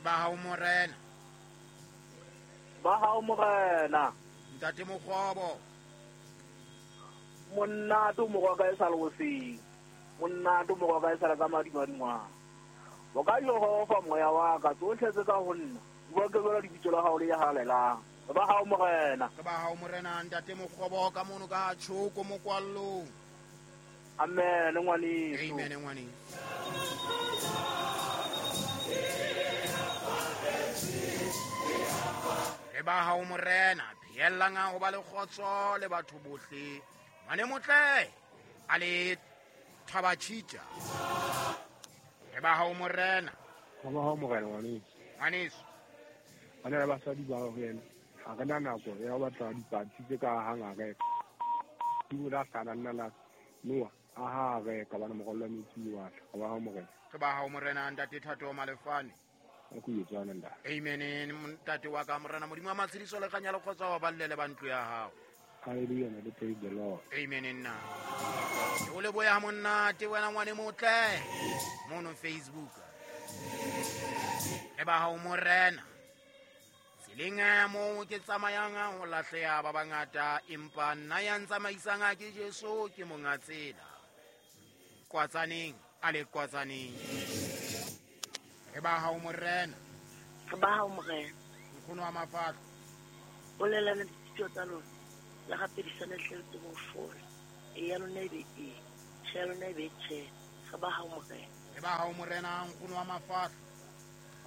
Re ba hao morena. Ba hao morena. Ntate Mokgobo. Monate o morwa ka e sa le hoseng. Monate o morwa ka e sa le ka madimadingwana. O ka Jehova moya wa ka, tsohle tse ka ho nna, di boke jwalo lebitso la hao le halalelang. Re ba hao morena. Re ba hao morena, ntate Mokgobo ka mono ka Tshoko mokwallong. Amen ngwaneso. Amen ngwaneso. Re ba hao morena, pheellang ho ba le kgotso le batho bohle. Ngwane motle a le Thabachita. Re ba hao morena. Re ba hao morena ngwaneso. Ngwaneso. Bana le basadi ba ho yena. Ha re na nako ya ho batla dipatsi tse ka hang areka. Di la hlala nna la Noa a ha areka bana morwallo wa metsi wa tla. Re ba hao morena. Re ba hao morena ntate Thato Malefane. A ku etsana ntate. Amen ntate wa ka morena Modimo wa matshediso le kganya le kgotsa wa balle le ba ntlo ya hao. Hallelujah, le praise the Lord. Amen nna. Ke o leboya monate wena ngwane motle mono Facebook. Re ba hao morena. Tseleng moo ke tsamayang ho lahleha ba bangata, empa nna ya ntsamaisang ke Jesu, ke monga tsela. Kwatsaneng a le kwatsaneng. Re ba hao morena. Re ba hao morena. Nkgono wa mafahlo. Bolelana dithuto tsa lona. Le rapedisane hle le tsebe ho fola. E ya lona e be e. Tjhe ya lona e be tjhe. Re ba hao morena. Re ba hao morena, nkgono wa mafahlo.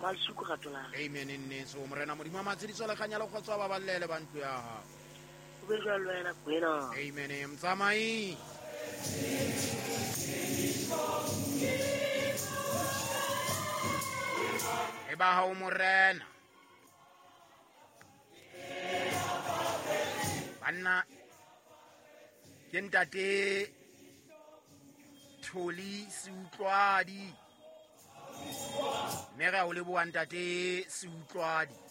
Malsuku rato la. Amen nneso morena Modimo wa matshediso le kganya le kgotso ba ballele ba ntlo ya hao. O be jwalo wena Kwena. Amen mtsamai. Re ba hao morena. Banna ke ntate Tholi Seutlwadi. Mme re a o leboha ntate Seutlwadi.